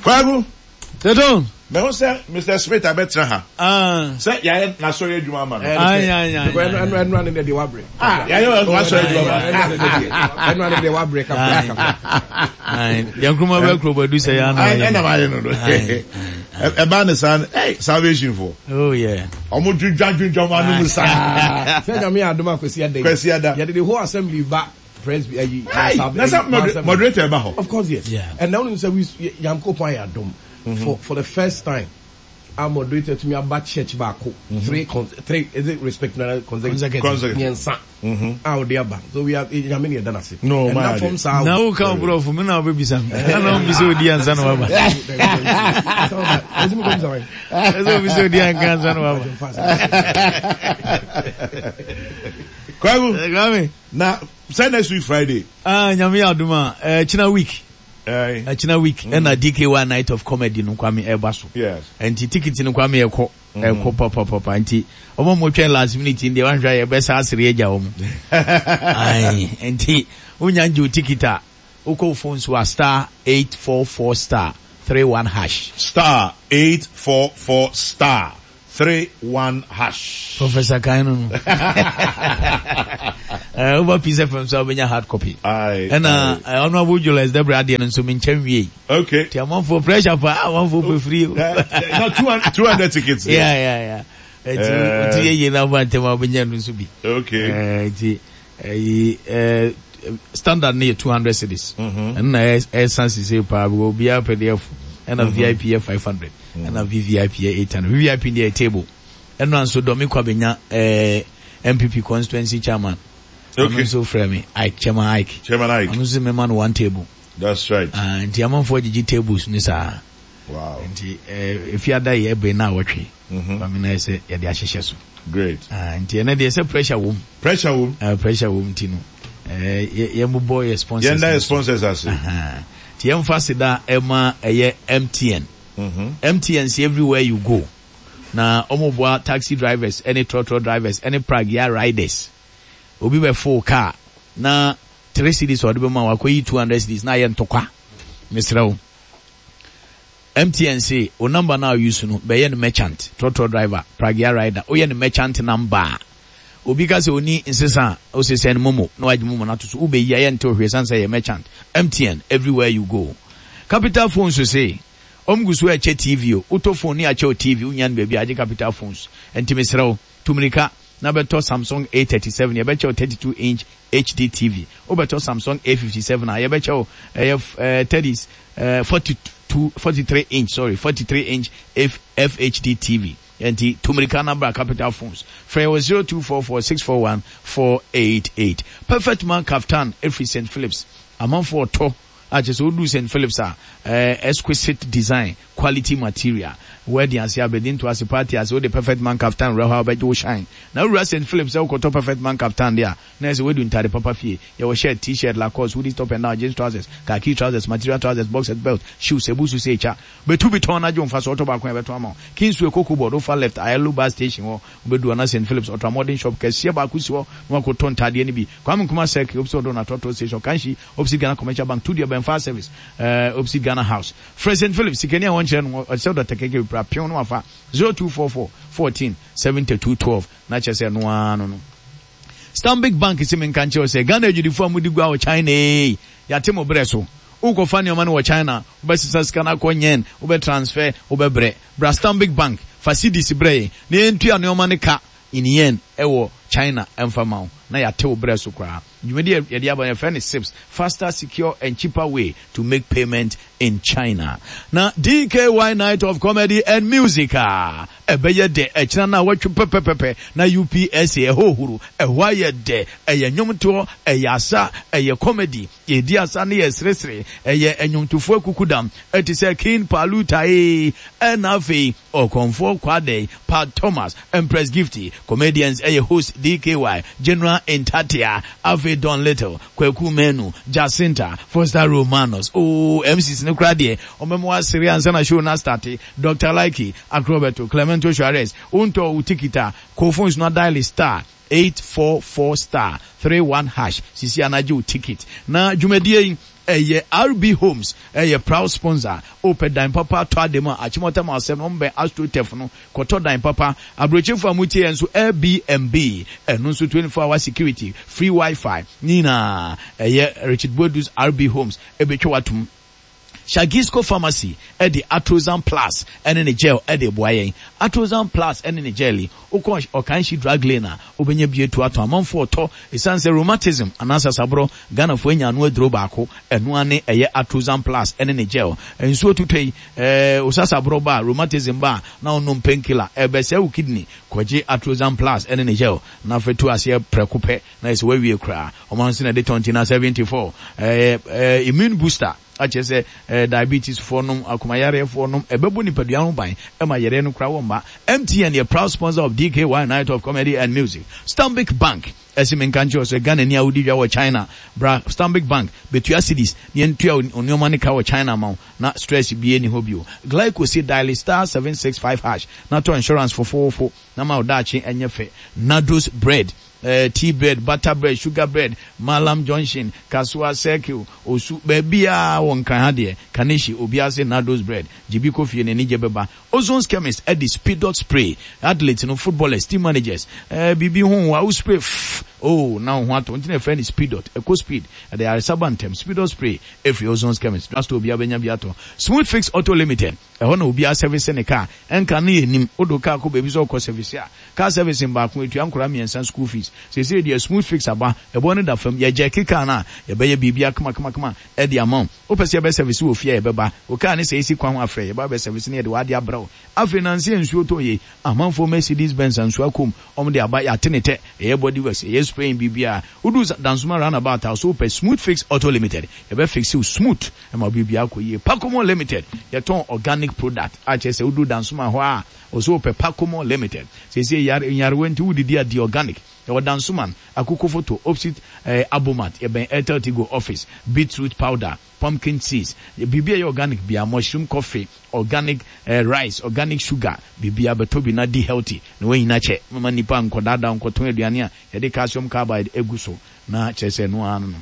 Kwaku. Teton. Mɛhu sɛ Mr. Smith abɛtena ha. Sɛ yɛayɛ n'asɔre adwuma ama no. Ɛnu ane deɛ wabrɛ. Yɛayɛ w'asɔre adwuma ama no. Ɛnu ane deɛ wabrɛ kakra kakra. Yɛn kuruma bɛ kuro bɛ du sɛ yɛn ano. Ɛna maa yɛ no do. Ɛbaa ne saa ɛy salvation fo. Oh yeah. Ɔmo dwindwa dwindwa ɔmo anum saa. Sɛ nyame yɛ adom a Kwasi Ada yi. Kwasi Ada. Yɛde the whole assembly ba presby ayi. Ayi na sɛ moderator ɛba hɔ. Of course yes. Yeah. And na wonim sɛ we Nyankopɔn ayɛ adom for the first time a moderator tumi aba church baako three three is it respect na consecutive mmiɛnsa a ɔde aba so we are nyame ne yɛda no ase no ɛna fam saa na wo ka borɔfo me na wobɛbisa me na wobisa odi ansa na waba ɛsɛ wobisa odi anka ansa na waba Kwaku Kwame na sɛ next week Friday ah nyame yɛ adom a ɛkyena week ɛkyena week ɛna DKY night of comedy no Kwame ɛba so nti ticket no Kwame ɛkɔ Ɛkɔ papapapa nti wɔn a wɔtwɛn last minute no deɛ wanhwɛ a yɛbɛsa asere agya wɔn. Ae nti wonya ngye wo ticket a wokɔ wo phone so a star 844 star 31 hash. Star 844 star 31 hash. Professor kan no no. Eh, woba Peace FM so a wobɛnya hard copy. Aye. Ɛna eh, Honorable Julius Debrah adeɛ no nso menkyɛ nwiei. Okay. Ti amanfoɔ pressure pa amanfoɔ pɛ free o. Na 200 tickets. Yeah. Eti oti yɛ yie na aba ntɛm a wobɛnya no nso bi. Okay. Eti ɛyi standard no yɛ 200 cedis. Ɛno na ɛsan sise paa because obiara pɛ deɛ ɛfo. Ɛna VIP yɛ 500. Ɛna VVIP yɛ 800. VVIP deɛ yɛ table. Ɛno nso Dɔmi Kwabenya NPP constituency chairman. Okay. Ɔno nso frɛ me Ike Chairman Ike. Chairman Ike. Ɔno nso mema no one table. That's right. Ah, nti amanfoɔ gyegye tables no saa. Wow. Nti eh, efiada yi ɛbɛn na awɔtwe. Mm-hmm. Kwame na ɛsɛ yɛde ahyehyɛ so. Great. Ah, nti ɛnɛ deɛ sɛ pressure wom. Pressure wom. Ah, pressure wom nti no. Eh, yɛn bobɔ yɛ sponsors. Yɛn da yɛ sponsors ase. Nti yɛn fa seda ɛma ɛyɛ MTN. Mm-hmm. MTN si everywhere you go. Na wɔn boa taxi drivers ɛne trɔtrɔ drivers ɛne pragya riders. Obi bɛ fo car na Three cedis a ɔde bɛma wo akɔyi 200 cedis na ayɛ ntɔkwa. Mesrɛ wo. MTN se wo number no a wo use no bɛyɛ no merchant, trɔtrɔ driver, pragea rider, woyɛ no merchant number a, obi ka sɛ ɔni nsesa a, wose send momo na wagye momo no ato so, wobɛyi a yɛntew hwee ɛsiane sɛ ɛyɛ merchant. MTN, everywhere you go. Capital Phones se wɔn gu so ɛkyɛ TV o, wotɔ phone ne yɛakyɛ wo TV, wonnya no baabi a agye Capital Phones. Ɛnti mesrɛ wo, tu mmirika na bɛtɔ Samsung A37, yɛbɛkyɛ wo 32 inch HD TV. Wobɛtɔ Samsung A57 a, yɛbɛkyɛ wo ɛyɛ 30, 42, 43 inch, sorry, 43 inch FHD TV. Ɛnti tu mmirika na bra Capital Phones. Frɛ yɛn wɔ 0244 641 488. Perfect Man Kaftan ɛfiri St. Phillips. Amanfoɔ ɔtɔ a kyerɛ sɛ woduu St. Phillips a, exquisite design, quality material. Wedding ase, abadinto ase, party ase, wode Perfect Man Kaftan wura hɔ a wobɛgye wo shine. Na wowura St. Phillips sɛ wokɔtɔ Perfect Man Kaftan de a, na ɛsɛ woadu ntade papa fie. Yɛwɔ shirt, T-shirt, Lacoste, hoodies, top and down, jeans trousers, khaki trousers, material trousers, boxers, belt, shoes, ebu so sɛ etwa. Betu bi tɔn na gye wo mfaso, ɔtɔ baako a yɛbɛtɔn ama wo. Kingsway Cocoa Board, wofa left, Ayalo Bus Station hɔ, wobedu hɔ na St. Phillips Ultramodern Shop kɛseɛ baako si hɔ na woakɔtɔ ntadeɛ no bi. Kwame Nkrumah Circle, opposite Odon Trɔtrɔ Station, Kanshi, opposite Ghana Commercial Bank, Tudua bɛn Fire Service, opposite Ghana House. Frɛ St. Phillips, sikani a wɔnkyerɛ no, ɔte sɛ Dɔkta KK Bipra, pew no wafa, 0244 14 72 12, na kyerɛ sɛ ɛno ara no no. Stanbic Bank se menka nkyerɛ wo sɛ, Ghana adwudifoɔ a modi gua wɔ China ei, yɛate mo berɛ so. Wokɔfa nneɛma no wɔ China, wobɛsesa sika no akɔ Yen, wobɛ transfer, wobɛbrɛ. Bra Stanbic Bank, fa cedis brɛ yɛn na yɛntua nneɛma no ka in Yen wɔ China mfa ma wo, na yɛate wo berɛ so koraa. Dwumadi a yɛde aba no, yɛfrɛ no SIPS, Faster, Secure and Cheaper Way to Make Payment in China. Na DKY Night of Comedy and Music a ɛbɛyɛ dɛ ɛkyena nnawɔtwe pɛpɛpɛpɛ na UPSA ɛhɔ huru, ɛhɔ ayɛ dɛ, ɛyɛ nnwomtoɔ, ɛyɛ asa, ɛyɛ comedy, yɛredi asa ne yɛreseresere, ɛyɛ nnwomtofoɔ akukudam te sɛ King Palu Tae ɛna afei Ɔkɔmfoɔ Kwadei, Pat Thomas, Empress Gifty, Comedians ɛyɛ host DKY, General Ntatea, afei Don Little, Kwaku Manu, Jacinta, Foster Romanus, ooh MCs no koraa deɛ ɔmɛma wasere ansa na show no astarte, Doctor Likey, Akrobeto, Clemento Suarez, wontɔɔ wo ticket a, kɔ phones no adiale star 844 star 31 hash sisi a na gye wo ticket. Na dwumadie yi. Ɛyɛ RB Homes ɛyɛ proud sponsor. Wopɛ dan papa atɔ ade mu a, Achimota ma asɛm no, wɔbɛn AstroTurf no, kɔtɔ dan papa. Aburokyirefo a motie yɛn nso, Airbnb, ɛno nso 24 hour security, free WiFi, ne nyinaa ɛyɛ Richard Boadu's RB Homes ɛbɛtwa wo atom. Shagisco Pharmacy de Atrozan Plus ne ne gel de reboa yɛn. Atrozan Plus ne ne gel yi, wokɔ Ɔkanhyi Drug Lane a, wobɛnya bi atu atɔn. Amanfoɔ retɔ ɛsiane sɛ rheumatism anaa sasaborɔ, Ghanafoɔ anya ano aduro baako, ɛno ara ne ɛyɛ Atrozan Plus ne ne gel. Nsuo tutɔ yi, eh, wo sasaborɔ ba a, rheumatism ba a, na wonom painkiller, ɛrebɛsɛe wo kidney. Kɔgye Atrozan Plus ne ne gel na fa tu aseɛ prɛko pɛ. Na ɛsɛ wawie koraa. Ɔma nso na ɛde tɔn ti na 74. Ɛyɛ ɛɛ immune booster akyerɛ sɛ ɛɛ diabetes foɔ nom, akomayareɛ foɔ nom, ɛbɛbɔ nipadua ho ban ɛma yareɛ no koraa wɔmma. MTN yɛ proud sponsor of DKY Night of Comedy and Music. Stanbic Bank ɛse menka nkyerɛ wo sɛ Ghanani a wodi dwa wɔ China bra Stanbic Bank bɛtua cedis na yɛntua wo nnoɔma no ka wɔ China ma wo na stress biara nni hɔ bio. Glico se diale star 765 hash na tɔ insurance fofoofo na ma wo daakye nyɛ fɛ. Nardos Bread Eh, tea bread, butter bread, sugar bread, Mallam junction, Kasoa, Circle, Osu, baabiara wɔ Nkran ha deɛ, Kaneshie, obiara se Nardos bread, gye bi kɔ fie na anigye bɛba. Ozone's Chemist de Speedot spray, athletes no, footballers, team managers, eh, biribi ho wo a, wo spray fff, oh, na wo ho atɔ wo, nti na yɛfrɛ no Speedot, ɛkɔ speed, ɛde ayaresa ba ntɛm, Speedot spray ɛfiri Ozone's Chemist, drugstore biara bɛnya bi atɔ. Smooth Fix Auto Limited, ɛhɔ na obiara service ne car, ɛnka no yɛnnim, wode wo car kɔ baabi sɛ wokɔ service a, Car servicing baako etua nkwadaa mmiɛnsa school fees. Seesei deɛ smooth fix aba, ɛboɔ no da fam. Yɛ jerky car no a, yɛbɛyɛ biribiara kamakamakama de ama wo. Wopɛ sɛ yɛbɛ service wɔ fie a, yɛbɛba. Wo car no sɛ esi kwan ho a, frɛ, yɛbɛba abɛ service na yɛde w'ade abrɛ wo. Afei nansa yi a nsuo tɔ yei, amanfoɔ Mercedes Benz a nsuo akɔ mu, wɔn de aba, yɛate ne tɛ, yɛyɛ body works, yɛyɛ spraying, biribiara. Woduru Dansoma roundabout a, so wopɛ Smooth Fix Auto Limited, yɛbɛ fixe wo smooth ma wo biribiara akɔ yie. Pacomo Limited, yɛtɔn organic product a kyerɛ sɛ woduru Dansoma hɔ a, Ɔsɛ ɔpɛ Pacomo limited. Seesei yare nyarewa nti wodidi a di organic. Yɛwɔ Dansoman, Akoko Foto, opsit eh, Abomat, yɛbɛn Airtel Tigo office, beetroot powder, pumpkin seeds, biribi a ɛyɛ organic biara, mushroom coffee, organic eh, rice, organic sugar, biribiara bɛtɔ bi na di healthy na woanyina kyɛ. Mma nnipa nkɔdaadaa wo nkɔtɔn aduane a yɛde calcium carbide agu so na kyerɛ sɛ ɛno ara no no.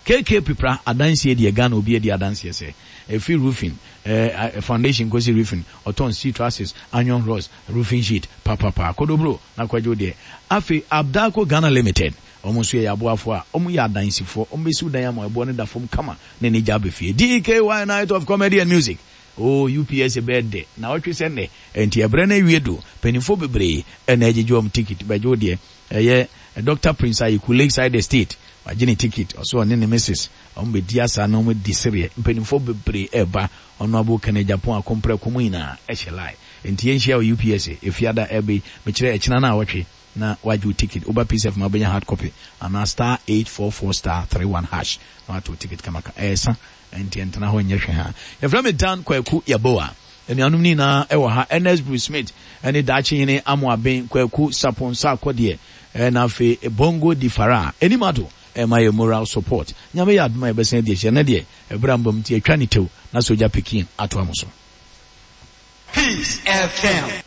KK Pipra adansie deɛ Ghana obi adi adanseɛ sɛ ɛfiri roofing eh, foundation kɔsi roofing ɔtɔn steel trusses, iron rods, roofing sheet papapa Kodobro na kwadwo deɛ Afei Abdalco Ghana Limited wɔn nso yɛ yɛaboafoɔ a wɔn yɛ adansifoɔ wɔn bɛsiw dan ama ɛboɔ no da fam kama na ani gya aba fie DKY Night of Comedy and Music Oh UPSA bɛyɛ dɛ naawɔtwe sɛ nnɛ ɛnti ɛberɛ no awie do mpaninfoɔ bebree ɛna agyegye wɔn ticket bɛgye wo deɛ ɛyɛ Doctor Prince Ayeku Lakeside Estate Wagye ne ticket, ɔse ɔne ne missus ɔmo bɛdi asa na ɔmo adi sereɛ. Mpaninfoɔ bebree ɛɛba, Honourable Kenneth Agyapong Akompreko mo nyinaa ɛhyɛ line. Enti yɛnhyia wɔ UPSA, Efiada ɛɛba yi, mekyerɛ ɛkyena naawɔtwe na wagye wo ticket. Woba Peace FM a wobɛnya hard copy anaa star 844 star 31 hash na wato wo ticket kamakama. Ɛɛsa, enti ɛntena hɔ nyɛ hwɛ haa. Yɛfrɛ me Dan Kwaku Yeboah. Anuanom no nyinaa ɛwɔ ha, Ernest Bruce Smith ɛne Daakye Hene Amoaben Kwaku Sapon Sarkodie. Ɛna afei Bongo di Fara anim ado ɛma yɛ moral support. Nyame yɛ adom a yɛbɛsan adi ahyia. Ɛnɛ deɛ ɛberɛ amba mu nti yɛtwa ne tew na sogya pikin atoa mo so. Peace FM.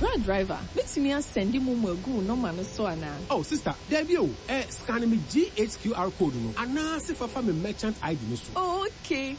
Bra driver, mɛtumi asɛnde momo agu wo nɔma no so anaa? Oh sister, daabi o, eh scan me GHQR code no anaa se fa fa me merchant ID no so. Oh okay.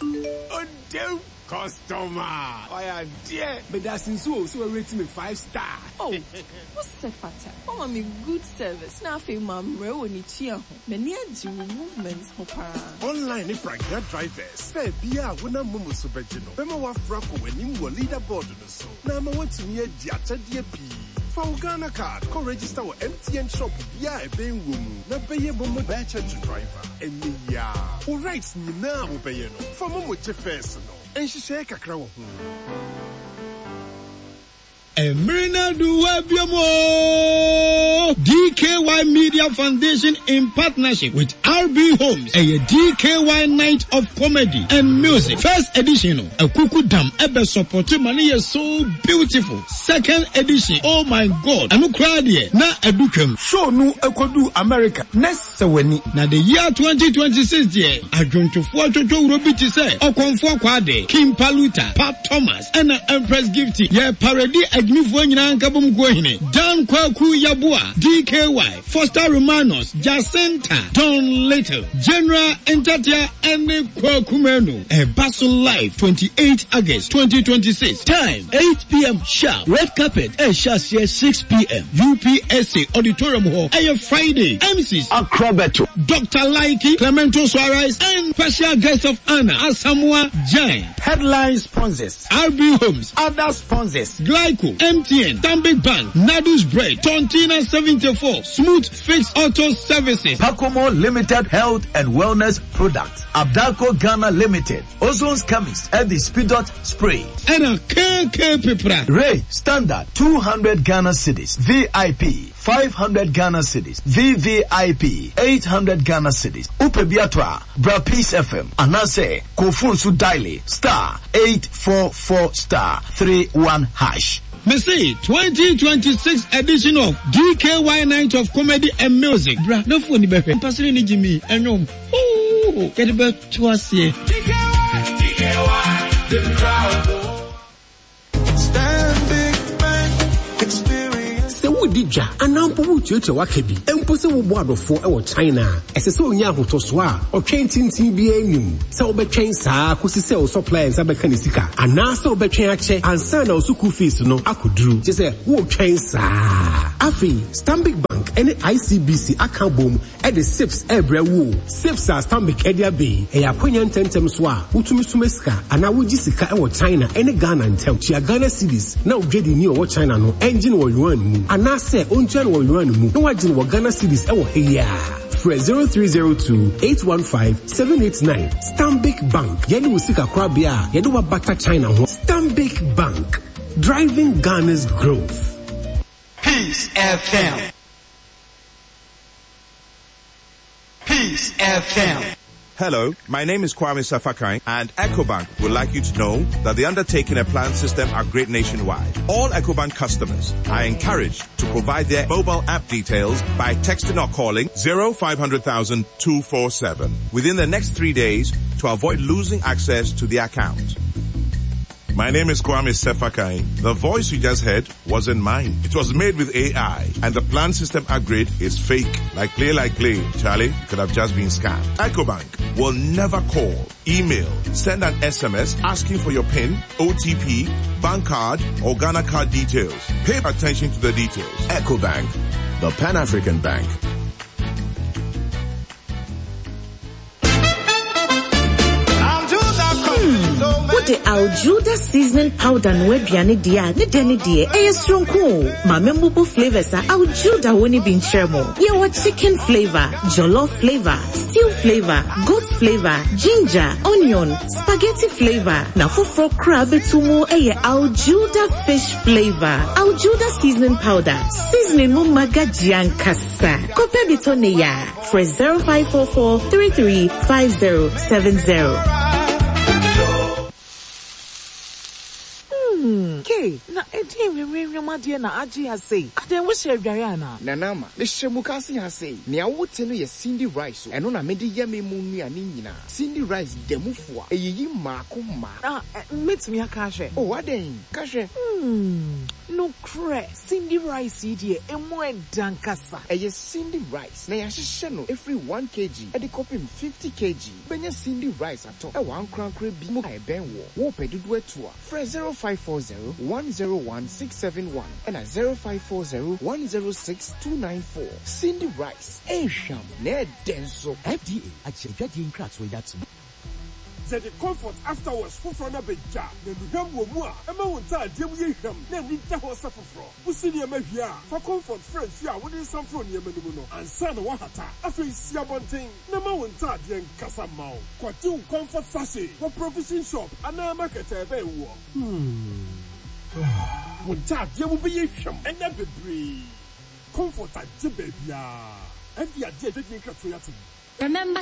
Odem customer wayɛ adeɛ. Medase nso o sɛ wa rate me 5 star. Oh wo sɛ fata. Wama me good service na afei mammrɛ wɔ ne tua ho. M'ani agye wo movement ho paa. Online ne pragea drivers fare biara a wonam momo so bɛgye no bɛma woaforo akɔ w'anim wɔ leaderboard no so na ama woatumi adi akyɛdeɛ pii. Fa wo Ghana card kɔ register wɔ MTN shop biara a ɛbɛn wo mu na bɛyɛ momo merchant driver ɛnnɛ yi ara. Wo rides nyinaa a wobɛyɛ no, fa momo gye fares no. Nhyehyɛe kakra wɔ ho. Mmere no adu hɔ abiom oo! DKY Media Foundation in partnership with RB Homes ɛyɛ DKY Night of Comedy and Music first edition no Akuku Dam ɛbɛ sɔpɔte ma no yɛ so beautiful second edition oh my God ɛno koraa deɛ na adu twam. Show no kɔduu America na sɛ w'ani. Na the year 2026 deɛ adwontofoɔ atwotwowuro bi te sɛ Ɔkɔmfoɔ Kwade, King Paluta, Pat Thomas ɛna Empress Gifty yɛ paredi. agyimifoɔ nyinaa nkabom kuo hene, Dan Kwaku Yeboah, DKY, Foster Romanus, Jacinta, Don Little, General Ntatea ɛne Kwaku Manu. Ɛba so live 28 August 2026. Time 8pm sharp. Red carpet ɛrehyɛ aseɛ 6pm. UPSA Auditorium hɔ. Ɛyɛ Friday. MCs. Akrobeto. Doctor Likey, Clemento Suarez and special guest of honor Asamoah Gyan. Headline sponsors. RB Homes. Other sponsors. Glyco, MTN, Stanbic Bank, Nadu's Bread, Tontina 74, Smooth Fix Auto Services. Pacomo Limited Health and Wellness Products, Abdalco Ghana Limited, Ozone's Chemist, ɛde Speedot Spray. Ɛna KK Pepra. Ray Standard 200 Ghana cedis, VIP 500 Ghana cedis, VVIP 800 Ghana cedis. Wopɛ bi atɔ a, bra Peace FM anaasɛ kɔ phone so diale star 844 star 31 hash. Mese 2026 edition of DKY Night of Comedy and Music. Bra na fo ni bɛhwɛ. Mpasere ne Jimmy ɛnwom. Ooh, yɛde bɛto aseɛ. Sɛ woredi dwa anaa mpo woretuatua w'aka bi, mpo sɛ woboa adɔfoɔ wɔ China a, ɛsɛ sɛ onya ahotɔsoɔ a ɔtwɛn tenten biara nni mu. Sɛ wobɛtwɛn saa ara kɔsi sɛ wo supplier nsa bɛka ne sika, anaasɛ wobɛtwɛn akyɛ ansa na wo sukuu fees no akɔduru, kyerɛ sɛ woretwɛn saa ara. Afei, Stanbic Bank ne ICBC aka abom de SIPS rebrɛ wo o. SIPS a Stanbic de aba yi, ɛyɛ akwanya ntɛmntɛm so a wotumi soma sika anaa wogye sika wɔ China ne Ghana ntam. Tua Ghana cedis na wo dwadini a ɔwɔ China no ngye no wɔ yuan mu, anaasɛ ontua no wɔ yuan mu na wagye no wɔ Ghana cedis wɔ ha yi ara. Frɛ 0302 815 789. Stanbic Bank, yɛne wo sikakorabea a yɛde wo abata China ho. Stanbic Bank, driving Ghana's growth. Peace FM. Peace FM. Hello, my name is Kwame Sefa Kayi and EcoBank would like you to know that they're undertaking a planned system upgrade nationwide. All EcoBank customers are encouraged to provide their mobile app details by texting or calling 0500 247 within the next three days to avoid losing access to the account. My name is Kwame Sefa Kayi. The voice you just heard wasn't mine. It was made with AI and the planned system upgrade is fake. Like play, like play. Charlie, you could have just been scammed. EcoBank will never call, email, send an SMS asking for your PIN, OTP, bank card, or Ghana card details. Pay attention to the details. EcoBank, the Pan-African Bank. Wode Aljuda seasoning powder noa aduane deɛ a, ne dɛ ne deɛ, ɛyɛ soronko o. Ma memmubu flavors a Aljuda wɔ no bi nkyerɛ mo. Yɛwɔ chicken flavor, jollof flavor, stew flavor, goat flavor, ginger, onion, spaghetti flavor, na foforɔ koraa bɛtu mu yɛ Aljuda fish flavor. Aljuda seasoning powder, seasoning mu magagye ankasa. Kɔpɛ bi tɔ ne ya. Frɛ 0544 33 5070. Hmm, Kay, na ɛdeɛn nwenwenwem adeɛ na agye ha sei? Adɛn, wohyɛ adware anaa? Nana Ama, mehyɛ mukaase ha sei. Nea wote no yɛ Cindy rice o, ɛno na mede yɛ me mu nnuane nyinaa. Cindy rice da mu fua, ɛyiyi mmaako mmaako. Na mɛtumi aka ahwɛ? Oh, adɛn? Ka hwɛ. Hmm, nokorɛ, Cindy rice yi deɛ, ɛmu ɛdɛ ankasa. Ɛyɛ Cindy rice na yɛahyehyɛ no firi one kg de kɔpem 50 kg. Wobɛnya Cindy rice atɔ wɔ ankorankorɛ bi mu a ɛbɛn woɔ. Worepɛ dodoɔ atu a, frɛ 0540 101 671 ɛna 0540 106 294. Cindy rice, ɛhwam na ɛdɛ nso. FDA agye adwadie nkratoɔ yi atom. Yɛde Comfort After Wash foforɔ no abɛgya, na nnuhwam wɔ mu a ɛma wo ntaadeɛ mu yɛ hwam na ani da hɔ sɛ foforɔ. Wosi nneɛma wie a, fa Comfort fra nsuo a wode nsa mforo nneɛma no mu no ansa na woahata. Afei si abɔnten na ma wo ntaadeɛ nkasa mma wo. Kɔgye wo Comfort sachet wɔ provision shop anaa market a ɛbɛn woɔ. Wo ntaadeɛ mu bɛyɛ hwam nna bebree. Comfort agye baabiara. FDA agye adwadie nkratoɔ yi atom. Remember.